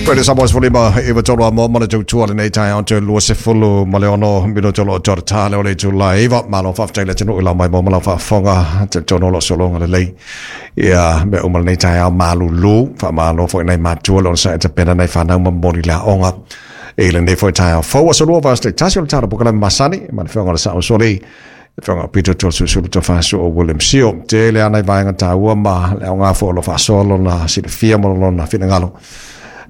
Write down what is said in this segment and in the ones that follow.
Pele sa boys folima e wa tolo mo mo le tautua lenei taeao te 26 minuto lo toro tale o le itula e iva malo faafetai le atunuu i lau mai mo ma lau faafofoga talitonu o lo o sologa lelei ia mea uma lenei taeao malulu faamalo foi nai matua le onosai e tapena nai fanau ma momoli le aoga i lenei foi taeao fou aso lua vaiaso taitasi o le tatou polokalame masani ma le afioga i le Sao Soli Afioga Peter Toeolesulusulu Tofaso o William Sio. Tele lava nai vaega taua ma le aoga foi o lo o faasoa lona silafia ma lona finagalo.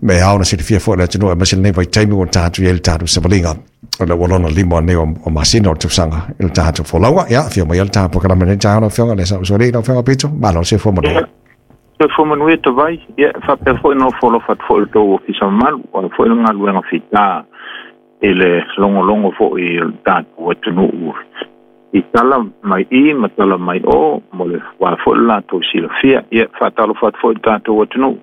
Me ao na silafia foi le atunuu aemaise lenei vaitaimi ua tatou i ai le tatou savaliga. O le ua lona lima nei o masina o le tausaga i le tatou folauga. Ia, afio mai le tatou polokalame lenei taeao lau Afioga le Sao Soli, lau Afioga Peter, malo le soifua manuia. Soifua manuia Tavai, ia faapea foi ona ofo alofa atu foi i le tou ofisa mamalu, o le foi le galuega fita i le logologo foi o le tatou atunuu i tala mai i ma tala mai o mo le wā foi le latou silafia. Ia, faatalofa atu foi i le tatou atunuu,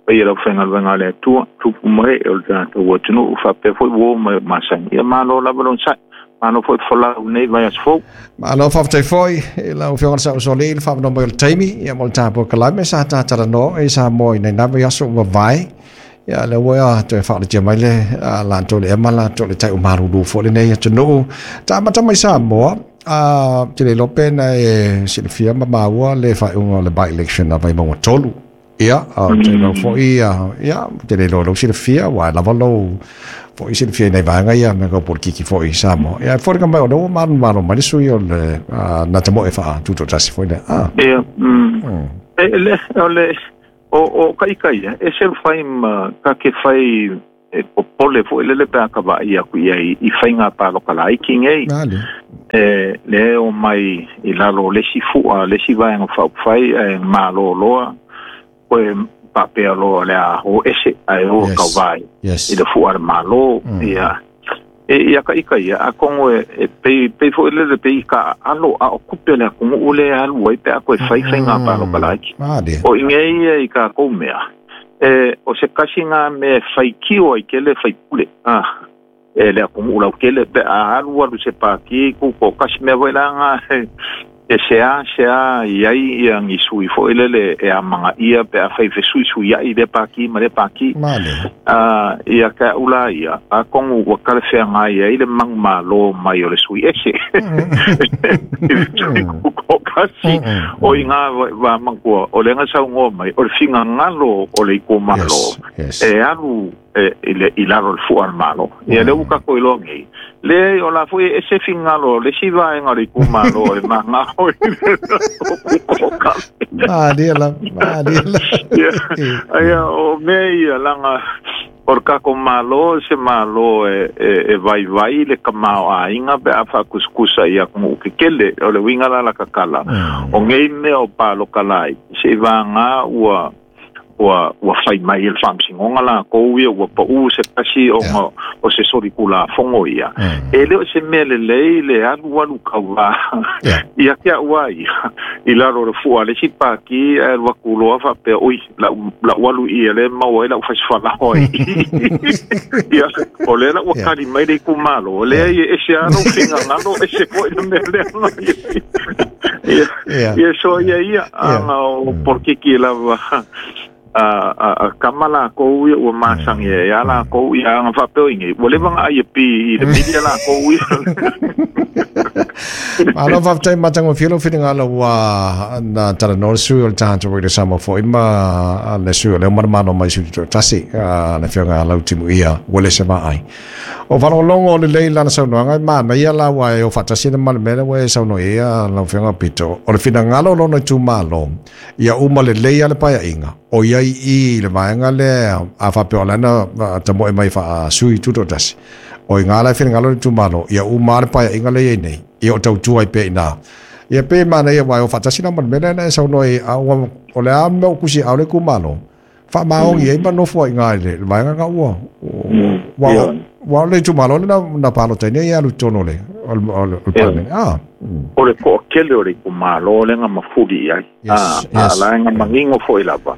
paia i le aufaigaluega a le Atua, tupu ma ee o le tatou atunuu, faapea foi uo ma e o masani. Ia, malo lava le onosai, malo foi le folau i lenei vaiaso fou. Malo faafetai foi i lau Afioga i le Sao Soli i le faaavanoa mai o le taimi ia mo le tatou polokalame sa ta talanoa i Samoa i nai na vaiaso ua mavae. Ia lea ua toe faaolatia mai le latou le ema latou le tai o malulu foi lenei atunuu. Ta amata mai Samoa, a te le iloa pe na e silafia ma maua le faaiuga o le by-election a Vaimauga 3. Ia, a te iloa foi, ia, te le iloa lou silafia, ua lava lou foi silafia i nai vaega ia me kau politiki foi i Samoa. Ia, e foliga mai o lea ua manumalo mai le sui o le na te moe faatutoatasi foi lea. Ah. Ia, E le, o le, O, o ka ika ia, e se fai ma ka ke fai e popole foi lele pe a ka vaai aku i ai i faiga paloka laiti nei. E le o mai i lalo o le isi fu'a, le isi vaega faaupufai ae malo loa, koe faapea loa o le a o ese ae o kauvā i le fu'a a le Malo. Ia, E ia ka ika ia, atonu e, e pei, pei foi lele pei ka alo a o kupe le atunuu le alu ai pe a koe fai faiga paloka laiti. O i ngei ia i kākou mea, e, o se kasi ngā mea e faitio ai kele faipule, a, e le atunuu lautele pe a alu alu se pāti ku ko kasi mea foi la ngā e, E seasea i ai ia ni sui foi lele e amanaia pe afai fesuisuiai lea pākī ma lea pākī. Ā, ia ke aʻu la ia, atonu ua talafeagai ai le manumalo mai o le sui ese. I toatasi o i ngā wā matua, o lea na saunoa mai, o le finagalo o le itumalo e alu e, i, le, i lalo o le fua a le Malo. Ia lea ua tatou iloa nei, leai o la foi e ese finagalo o le isi vaega o le itumalo e manao i le Malie la, malie la. Ia, ia, o mea ia, laga o le tatou Malo se Malo e, e, e vaivai le tamaoaiga pe a faatusatusa i atunuu tetele. O le uiga la la tatala, o nei mea o paloka laiti, seivaga ua ua ua fai mai e le Faamasinoga latou ia ua pau se tasi ona o se solitulafono ia. E le o se mea lelei le alualu kauvā ia te a'u a ia i lalo o le fua a le isi pāti ae alu atu loa faapea, oi, la'u la'u alu i i lea e maua ai la'u fasifalaoa i i. Ia, o lea la ua tali mai le itumalo, leai e ese lava lou finagalo, ese foi le mea lea na i ai. Ia, ia so ia ia, ana o polokiki lava a kama lakou ia ua masani ai a lakou ia ana faapea o inei, ua leva ona ai e pi i le media lakou ia. Malo faafetai matagofie lou finagalo ua na talanoa le sui o le tatou Radio Samoa foi ma le sui o lea manamano mai sui tutoatasi le afioga ia Lautimuia Uelese Vaai. O faalogologo lelei lana saunoaga e manaia la aua e o faatasi ana ma le mea lea ua e saunoa i ai lau Afioga Pito. O le finagalo o lona itumalo, ia uma lelei lava le paeaiga, o i ai i le vaega lea a faapea o la e na tamoe mai faa-sui tutoatasi. O i ina la e finagalo le itumalo, ia uma lava le paeaiga lea e i ai nei, ia o tautua ai pea i ina. Ia pei e manaia aua e o faatasi la ma le mea lea na e saunoa i ai, a ua, o le a le mea ua tusi aao le itumalo, faamaoni ai ma nofo ai i ina i le vaega lena ua, ua, ua o le itumalo lea na palota ai nei e alu i totonu o le, o le, o le, o le Palemene. Ah. O le toatele o le itumalo lea na mafuli i ai. A la e na manino foi lava,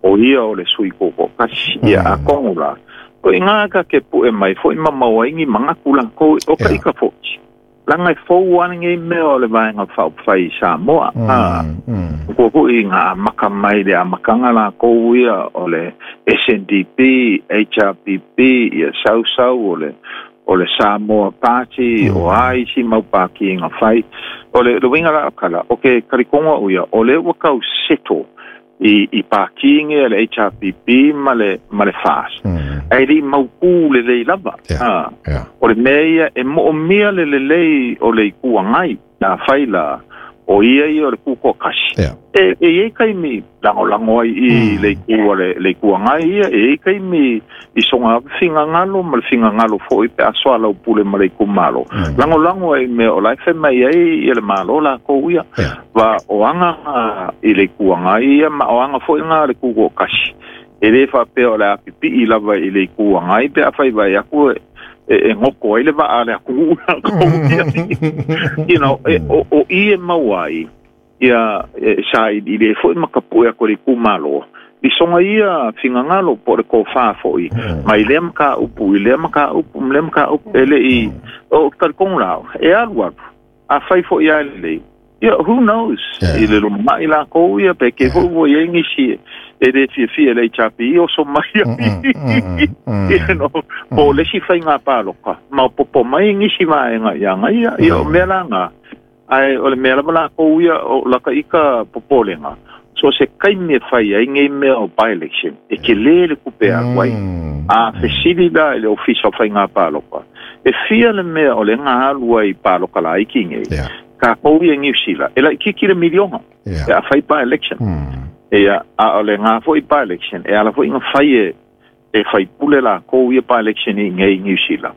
o ia o le sui tutoatasi. Ia atonu la, o i ina ka ke pue mai foi ma maua ai ni manatu lakou, o ka ika foi. Langa e fou ana ngei mea o le vaenga whaupawhai i Samoa. Kua hui ngā maka mai le a makanga la kou ia o le SNDP, HRPP, ia sausau o le Samoa Party, o ai si maupaki ngā whai. O le winga la kala, o ke karikonga uia, o le wakau seto i pākinge le HRPP ma le FAS. Ai li maupu le lei lava. O le mea e moomia le lelei o le ikuangai na whaila o ia ia o le kuko kasi. E e kaimi lango lango ai i le ikua le ikuangai ia e kaimi i songa fingangalo ma le fingangalo foi pe asoa lau pule ma le ikumalo. Lango lango ai me o lai mai ai i le malo la ko ia. Va o anga i le ikuangai ia ma o anga foi ngā le kuko kasi. E le whapea o le apipi i lava i le ikuangai pe a whai vai aku e ngoko ai le waa le aku you know, o i e mauai ia sa i le foi makapu e ako le kumalo i songa ia fingangalo po le ko wha foi mai le maka upu i le maka upu le maka upu ele i o kalikong lau e alu alu a whai foi a le ia who knows i le lumai la kou ia pe ke foi wo ia ngisi e le fia fia le chapi o so mai you know po le si whai ngā pāloka ma popo mai ngisi vaenga ia ngai ia o mea la ngā ai o le mea lava la kou ia o laka ika popolenga so se kaimi e whai ai ngei mea o by-election e ke le le kupe a wai a fesili la i le ofisa o whai ngā pāloka e fia le mea o le ngā alua i pāloka la iki ngei ka kou ia New Zealand e la kiki le milionga e a whai by-election ia a o le ngā foi by-election e ala foi ngā whai e whai pule la kou ia by-election i ngei New Zealand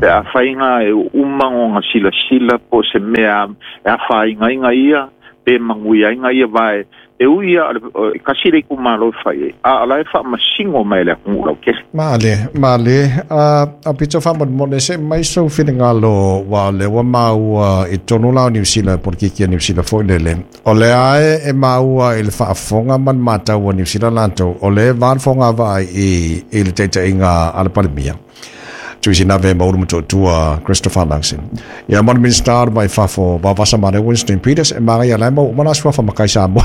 e a whai ngā e umango ngā sila sila po se mea e a whai ngā inga ia pe mangui ai ngā ia vai e ui ia kasi le kumalo whai a ala e wha masingo mai le akungu lau kele. Male a pito wha mone se mai so whingalo wa le wa maua i tonu lao New Zealand por kiki New Zealand foi lele o le ae e maua i le whaafonga man mātau o New Zealand lanto o le vanfonga vai i le teita inga a le palemia Tuisi nave mauru matotua Christopher Luxon. Ia mana minister mai fafo vavasa mane Winston Peters e manga ia laimo mana sua fa makai Samoa.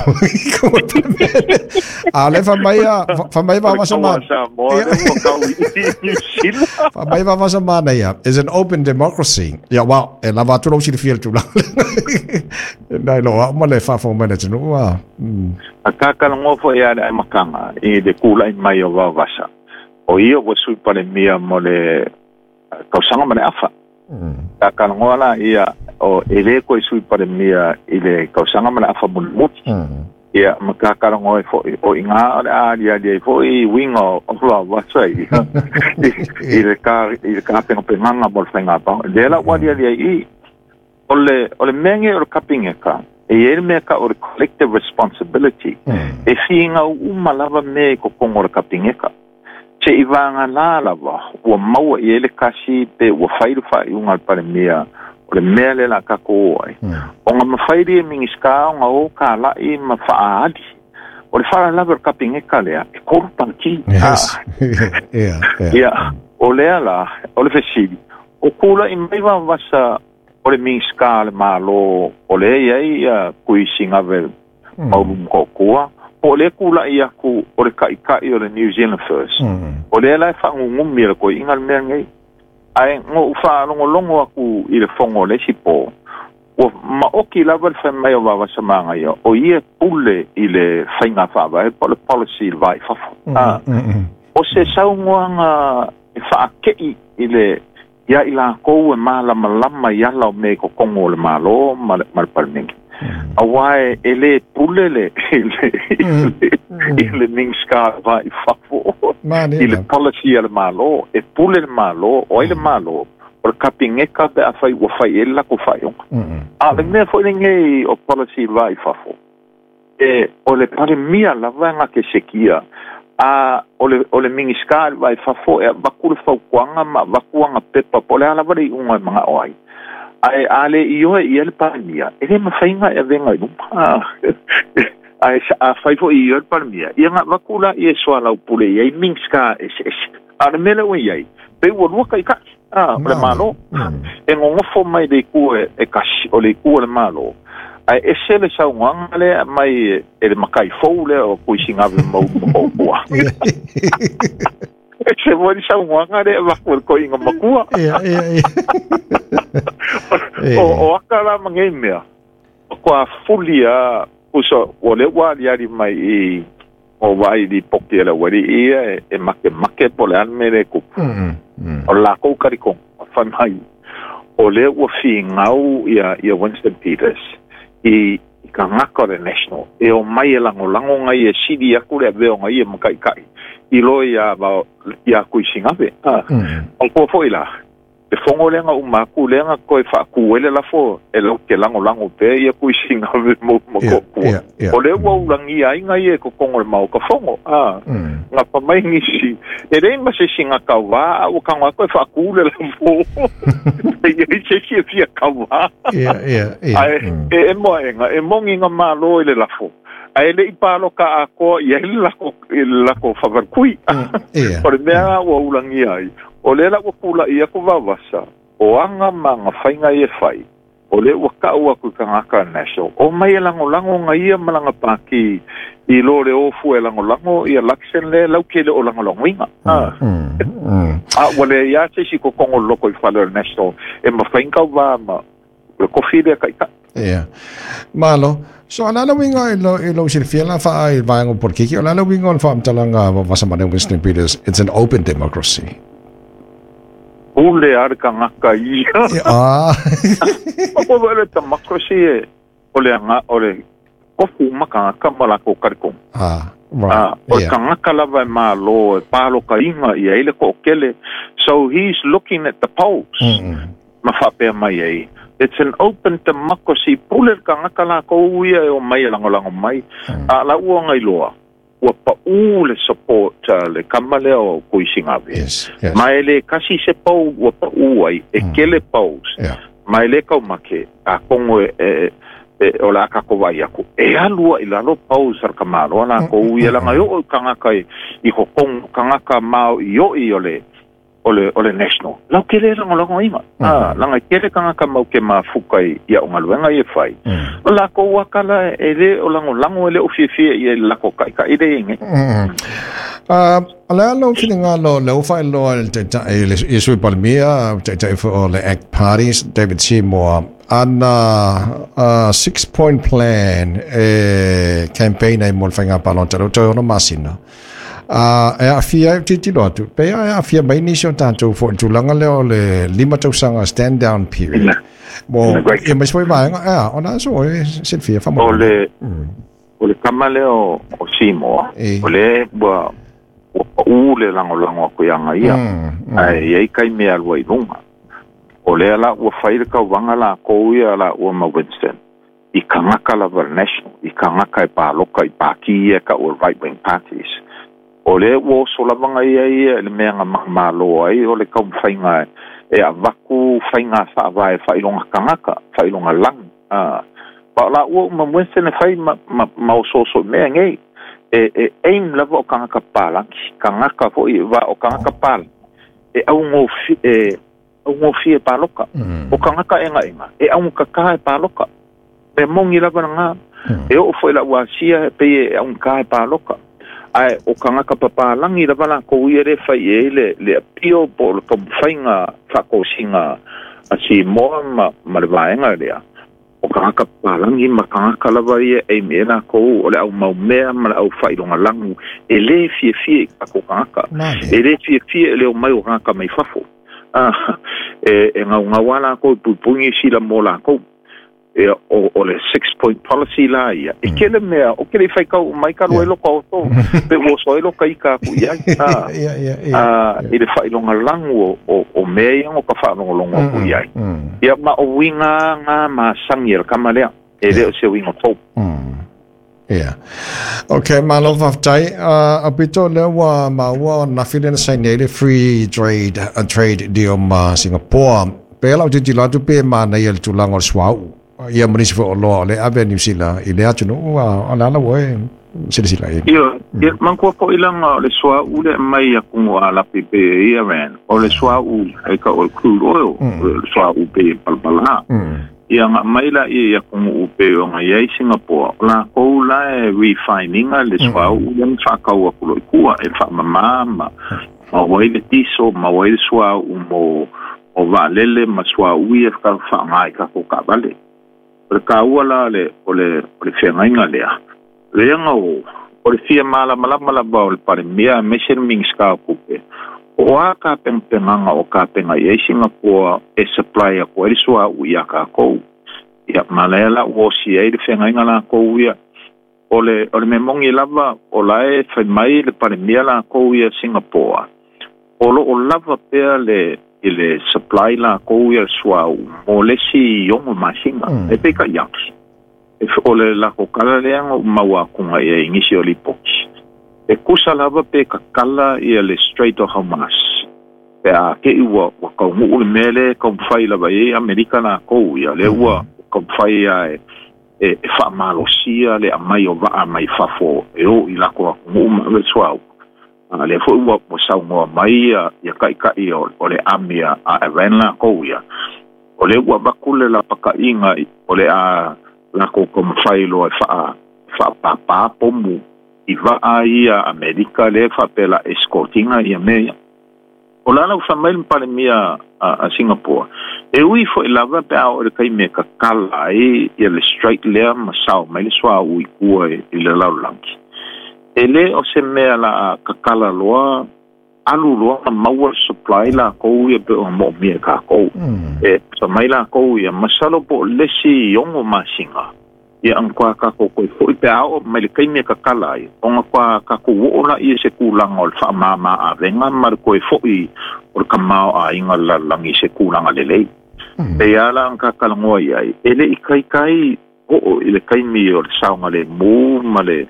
A le fa mai vavasa mane. Fa mai vavasa mane ia is an open democracy. Ia wa e lava tu lo si fiel tu la. Nai lo ma le fafo mane tunu wa. A kaka ngofo ia le makanga i le kula i mai o vavasa. O ia ua sui palemia mo le kausanga ma le afa. Ka kalangoa la ia o e le koe sui palemia i le kausanga ma le afa mulimuti. Ia ma ka kalangoa e o i ngā o le alia lia i foi winga o la wasa i i le ka pengapenganga mo le whainga pao. Le la ua lia lia i o le menge o le kapingeka e e mea ka o le collective responsibility e whiinga uma lava me ko kongo le kapingeka. Te i vānga lā lava, ua maua i ele kasi pe ua whairu whai unga le palemia o le mea le la kako oai. O ngā mawhairi e mingiska o ngā o ka lai ma whaali. O le whara lava o kapingeka lea, e koru pangki. Yes. Ia, o lea la, o le fesili. O kula i mai wawasa o le mingiska le malo o le ia ia kui singave mauru mkokua. O le kula i aku o le kaikai o le New Zealand First. O le la e whaangungumi le koe inga le mea ngei. Ai ngo whaalongolongo aku i le fongo le sipo. O maoki lava le whai mai o wawasa manga ia. O ia pule i le whainga whaava e po le policy le vai fafo. O se saungoanga e whaakei i le ia i la kou e mālama lama i ala o me ko kongo o le malo ma le palmingi. A wai e le pule le i le mingska vai fafo i le policy a le malo e pule le malo o ai le malo o le kapingeka pe a whai ua whai e lako whai onga. A le mea foi ngei o policy vai fafo e o le palemia lava nga ke sekia a o le mingiska vai fafo e vaku le faukuanga ma vakuanga pepa po le ala wale i unga e manga o ai. Ai ale i oe i ele palemia e le mawhainga e venga i luma. Ai a whaifo i oe palemia ia ngā vakula i e soa lau pule i ai mingska e se ese. A le mele ue iai pe ua lua kai kai. a o le Malo. E gogofo mai le itu e kasi o le itu o le Malo, ae ese le saunoaga lea mai e le makai fou lea o Tuisigave ma Ulu ma Koopua. Ese foi le saunoaga lea avatu e le toeaina matua. Ia, ia, ia. O aka la ma nei mea, matua fuli lava tusa ua lea ua aliali mai i o vaai i lipoti a le aualii ia e makemake po o le a le mea lea e tupu. O le latou talitonuga fai mai o lea ua finau ia Winston Peters i tagata o le National e omai e lagolago nai e sili atu le avea o nai ia ma taitai i lo ia Tuisigave. O tua foi la, le fono lea na uma atu lea na toe faatu ai le lafo e latou te lagolago pea ia Tuisigave mo ma Koopua. O lea ua ulagia ai nai ia i totonu o le Maota Fono. Na fa mai nisi, e leai ma se isi na tauvā, a ua tago atu e faatu le lafo. E i ai se isi e fia tauvā. Ae e emo aʻega, e moni na malo i le lafo, ae le i palota atoa i ai le latou faafaletui. O le mea la ua ulagia ai, o lea la ua tula'i atu Vaovasa, o aga ma aga faiga ia e fai, o lea ua ta'u atu i tagata a National, omai e lagolago na ia ma lana pāti i lo le o fua e lagolago ia Luxon lea lautele o lagolagoina. A ua leai lava se isi i totonu o le lotoifale o le National e mafai ona tauvā ma le tofi lea taitai. Ia. Malo. So, o le a le uiga i lo, i lou silafia la faa i vaega o polokiki, o le a le uiga o le faamatalaga a Vasa Mane Winston Peters, it's an open democracy? Pule a le tagata ia. Ah. O le democracy e, o le aga, o le tofu uma tagata ma latou talitonu. Ah, right. Ah, o le tagata lava e malo e palokaina i ai le toatele. So he's looking at the polls. Ma faapea mai ai, It's an open democracy, pule le tagata lakou ia e omai e lagolago mai. A la ua gailoa, ua paʻū le support a le kama lea o Tuisigave. Yes. Ma e le kasi se poll ua paʻū ai, e kele polls. Ma e le kaumake, atonu e, e, o le a tatou vaai atu, e alu ai i lalo polls a le tamaloa lakou ia, leaga e oo i tagata i totonu, tagata maoʻiʻoʻi o le, o le, o le National. Lau tele e lagolagoina. Ah, leaga e tele tagata mau te mafuta i, i au galuega ia e fai. O lakou aka la e le o lagolago e le o fiafia i ai i le latou taʻitaʻi lea e i ai nei. Ah, o le a lou finagalo o lea ua faailoa e le Taitai, le i Sui Palemia, Taitai foi o le ACT Party, David Seymour, ana six point plan e campaign ai mo le faiga palota, lea ua toe 6 masina. A e aafia ai, ou te tilotilo atu, pei e aafia mai nisi o tatou foi i le tulaga lea o le 5 tausaga stand down period. Mo, ia aemaise foi vaega, ea, o le a so e silafia faamolemole. O le, o le tama lea o, o Seymour, o lea ua, ua paʻū le lagolago atu iā ia, ae i ai taimi e alu ai i luga. O lea la ua fai le tauvaga lakou ia lāua ma Winston, i tagata lava le National, i tagata e paloka i pāti ia e ta'u o le right wing parties. O lea ua oso lava na ia ia i le mea na manumalo ai o le taumafaiga e avatu faiga faavae faailoga tagata, faailoga lagi. A, ma o lāua uma ma Winston e fai ma, ma, ma osooso i mea nei. E, e aim lava o tagata papalagi, tagata foi va o tagata papalagi e augofie, e augofie e paloka. O tagata ʻegaʻega, e augakakā e paloka. Mea moni lava lagā. E oo foi i lau Asia, e pei e augakā e paloka. Ae o tagata papalagi lava lakou ia lea e fai i ai le, le appeal po o le taumafaiga faatosina a Simoa ma, ma le vaega lea. O tagata papalagi ma tagata lava ia e aim i ai lakou o le au mau mea ma le au faailoga lagu e lē fiafia i tatou tagata. E lē fiafia i le omai o tagata mai fafo. E, e gaugau lava lakou e puipui Niu Sila mo lakou. Ia, o, o le six point policy la ia. E kele mea, o kele i faitau mai ka lua i loko oso, pe ua oso ai loka ika aku i ai. A, i le faailoga lagu o, o, o mea ia no ka faalogologo aku i ai. Ia, ma o uiga nga masani a le kama lea, e le o se uiga fou. Ia. Ok, malo faafetai. Aupito lea ua maua ananafi lea na saini ai le free trade, trade deal ma Singapore. Pei lava ou tilotilo atu pe manaia le tulaga o le suauu. Ia ma nisi foi oloa o lea e ave a Niu Sila i lea atunuu, o le ala ua e. Silasila i. Ia, manatua fo'i laga o le suauu le aumai atunu'u alapi pe ia Iran, o le suauu e ta'u o le crude oil, o le suauu pe palapalā. Ia aga'i mai laia i atunu'u pei ona i ai Singapore, o lakou la e refine ina le suauu lea ma fa'atau atu lo'i tua e fa'amamā ma maua ai le diesel, maua ai le suauu mo o vaalele ma suauu ia fa'aaogā i tatou taavale. O le tāua la o le feagaiga lea, leaga o le fia malamalama lava o le Palemia aemaise le Minisita o Tupe, o a tapenapenaga o tapena i ai Singapore e supply atu ai le suauu iā tatou. Ia ma lea la ua osi ai le feagaiga lakou ia. O le mea moni lava, o la e fai mai le Palemia lakou ia Singapore, o lo'o lava pea le i le supply lakou ia suauu mo le isi 6 masina. E peitai atu, o le lakou tala lea na ou maua atuga i ai i nisi o lipoti, e tusa lava pe tatala ia le Strait of Hormuz, pe a te'i ua taunu'u le mea lea e taumafai lava i ai Amerika lakou ia, lea ua taumafai a e fa'amalosia le aumai o va'a mai fafo e o i lakou atunu'u ma ave le suauu. A lea fo'i ua saunoa mai ia ta'ita'i o le ami a Iran lakou ia, o lea ua avatu le lapata'iga o le a lakou taumafai loa e fa'apāpā pomu i va'a ia Amerika lea fa'apea la escortinga ia mea ia. O la ua fai mai le Palemia a Singapore, e ui fo'i lava pe a oo i le taimi e tatala ai ia le strait lea ma sao mai le suauu i tua i le lalolagi, e lē o se mea la tatala loa alu loa ma maua le supply lakou ia pe ona mo'omia e takou. E sa mai lakou ia masalo po o lesi 6 masina ia agakoa tatou toe fo'i pe a oo mai le taimi e tatala ai, ona koa tatou o'o laia i se tulaga o le fa'amāmā avega ma le toe fo'i o le tamaoaiga le lalolagi i se tulaga lelei. E ia la ona tatalanoa i ai, e le'i taitai o'o i le taimi o le saogalēmū ma le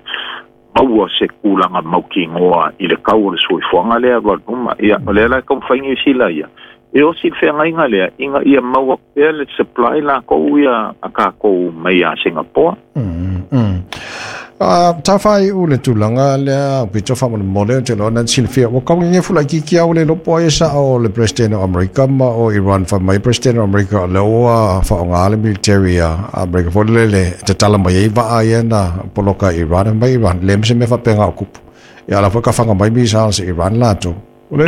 maua se tulaga mautinoa i le tau o le soifuaga lea alu Ia o lea la e taumafai Niu Sila ia e osi le feagaiga lea ina ia maua pea le supply lakou ia a takou mai ia Singapore. Tafai u le tulaga lea pito faamolemole o te loa na silafia ua kaugege fulaititi au le lopo ai sa'o le President o Amerika ma o Iran. Fai mai President o Amerika o lea ua fa'aaogā le military a Amerika foi lele e tatala mai ai va'a ia na poloka i Iran mai Iran le ma se mea faapeaga o kupu. Ia la foi kafaga mai missiles i Iran latou o le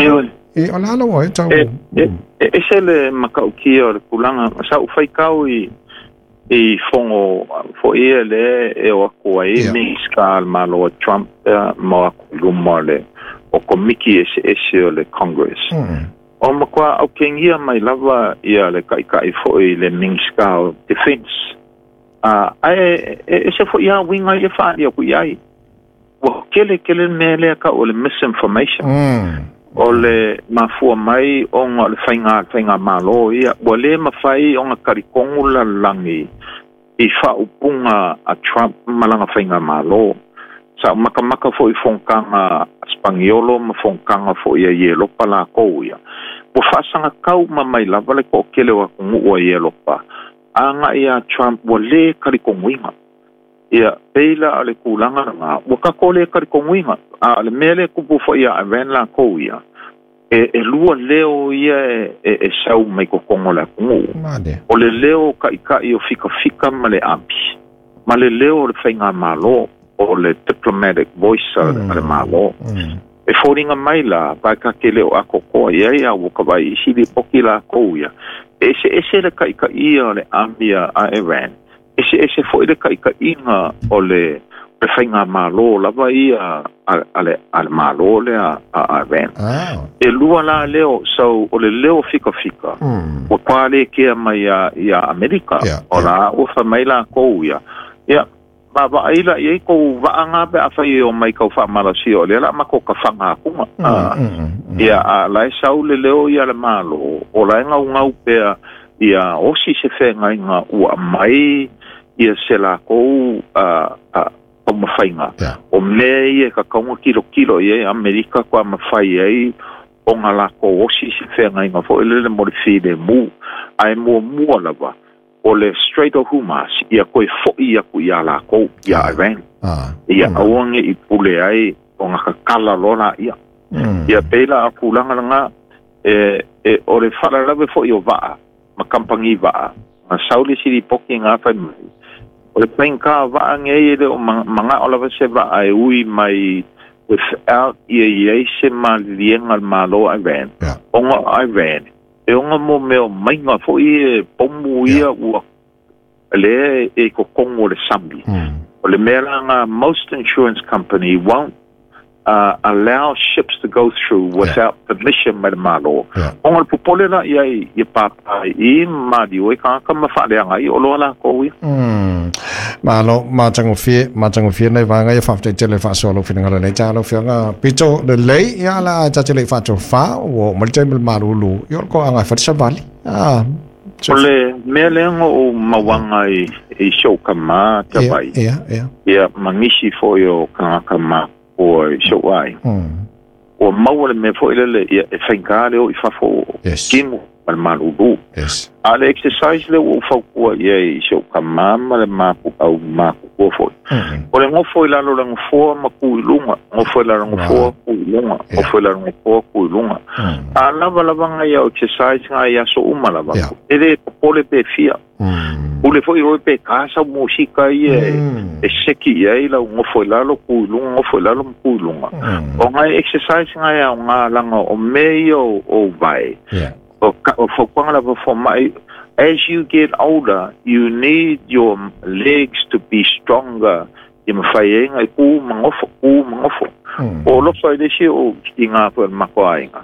e o le ala ua e tau. E ese le makaukia o le tulaga sa ou faitau i fogo fo'i ia le e o aku ai Minisita le Malo a Trump ma o aku i luma o le o komiki eseese o le Congress. O matua aukegia mai lava ia le ta'ita'i fo'i le Minisita o Defense. Ae e ese fo'i a uiga ia fa'aali aku i ai. Ua kele kele le mea lea ta'u o le misinformation. O le mafua mai ona o le faiga malo ia ua lē mafai ona talitonu lalolagi i fa'aupuga a Trump ma lana faiga malo. Sa makamaka fo'i fonotaga a Spaniolo ma fonotaga fo'i a Ielopa lakou ia. Ua fa'asagatau ma mai lava le to'atele o atunu'u a Ielopa aga'i iā Trump ua lē talitonuina. Ia pei la o le tulaga lagā ua tatou lē talitonuina. A o le mea lea tupu fo'i iā Iran lakou ia, e lua leo ia e sau mai totogo o le atunu'u. O le leo ta'ita'i o fikafika ma le ami ma le leo o le faigamālō, o le diplomatic voice a le Malo. E foliga mai la vae le o atoatoa i ai a ua ka vai isi lipoti lakou ia. E eseese le ta'itaʻia o le ami a Iran, eseese fo'i le ta'itaʻiga o le faigamālō lava ia a le Malo lea a Iran. E lua la leo, so o le leo fikafika ua toa lē kea mai ia Amerika. O la ua fai mai lakou ia, ia vaavaai la i ai kou vaaga pe a fai e o mai kau fa'amalasia o lea la makou kafaga akuga. Ia a la e sau le leo ia le Malo o la e gaugau pea ia osi se feagaiga ua aumai ia se lakou taumafaiga. O mea ia e kakauga kilokilo i ai Amerika koa mafai ai ona lakou osi se feagaiga fo'i lele mo le filemu. Ae muamua lava o le Strait of Hormuz ia toe fo'i aku iā lakou ia Iran. Ia aua nei i pule ai o ngā kakala loa ia. Ia pēlā a kūlanga langa e o le whalalawe fo i o waa, ma kampangi waa, ngā sauli siri poki ngā whai mai. O le whainga waa ngei ele o manga o lava se waa e ui mai without ia iei se malilienga le malo Iran. Onga Iran. E onga mo meo mainga fo i e pomu ia ua le e kokongo le sambi. O le mea langa most insurance company won't allow ships to go through without permission mai le malo. Onga le popole la ia i papa i mali o e kaka mawhaaleanga i o loa la kou ia. Malo, matangofie nei vanga ia whafte tele whasoa lo whingala nei tālo whianga pito le lei ia la tatele whato wha o malite mil marulu i o ko anga whatisa vali. O le mea leanga o mawanga i shauka mā ka vai. Ia mangisi foi o kangaka mā o shau ai. O maua le mea foi lele ia e whaingare o i whafo kimu ma le malulu. A le exercise le ua faukua ia i shauka mā ma le māku au māku kua foi. O le ngofo i lalo le ngofoa ma ku i lunga. Ngofo i lalo ngofoa ku i lunga. Ngofo i lalo ngofoa ku i lunga. A lava lava ngai au exercise ngai aso uma lava. E le popole pe fia. Ule foi oi pe kasa musika ia e seki ia i lau ngofo i lalo ku i lunga, ngofo i lalo ku i lunga. O ngai exercise ngai au ngā langa o mea o vai. O whakwanga lava fo mai. As you get older, you need your legs to be stronger. I mawhai e ngai ku mangofo, ku mangofo. O lofa i lesi o ki ngā pua makoa inga.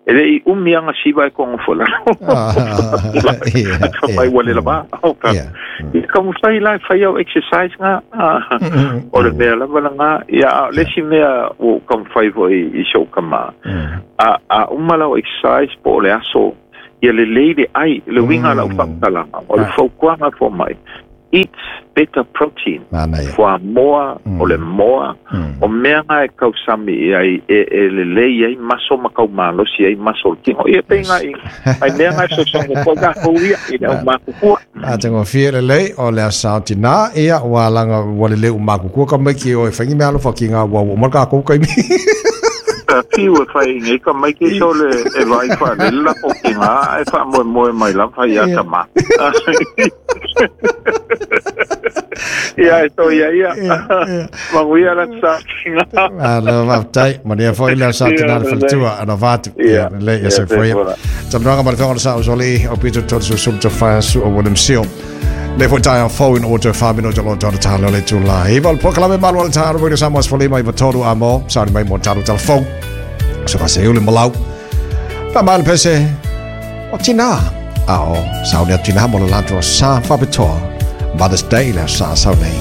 E le i umianga siwa e kongo fo lalo. Ka mai wale lava. I ka mwhai lai whai au exercise ngā. O le mea lava la ngā. Ia lesi mea o ka mwhai fo i shauka mā. A umalau exercise po o le aso. Ia le leile ai, le winga lau whakatalanga. O le whaukuanga fo mai. Eat better protein. Fua moa, o le moa. O mea ngā e kausami ai, e le lei ai maso makau malosi ai maso le kingo. Ia pe ngā i, ai mea ngā e sosongo koe ngā houia i leo makukua. A tengo fia le lei, o lea sao tina, ia ua langa ua le leu makukua ka mai ki o e whangi mea alofa ki ngā ua ua marka kou kai mi. Ki ua whai ngai ka mai ki so le e vai wha le la o ki ngā e wha moe moe mai la whai a ka ma. Ia e tō ia ia. Manguia la sa ki ngā. Alo waftai, mania foi la sa tina le whalatua, ana vātu. Ia, le ia se foi. Tamnoanga ma le whango sa usoli, o Peter Totsu sum te whasu o William Seal. Le foi tai a fau in o te whamino te loa tōna tālo le tūla. Iwa le pokalame malu ala tāro wira sa moas whalima i watoru a mō. Sauri mai mō tāro tala fau. So ka se ule malau. Pa maile pese o tina. A o sauni a tina mo le lanto sa whapetoa. Mother's Day le sa sau nei.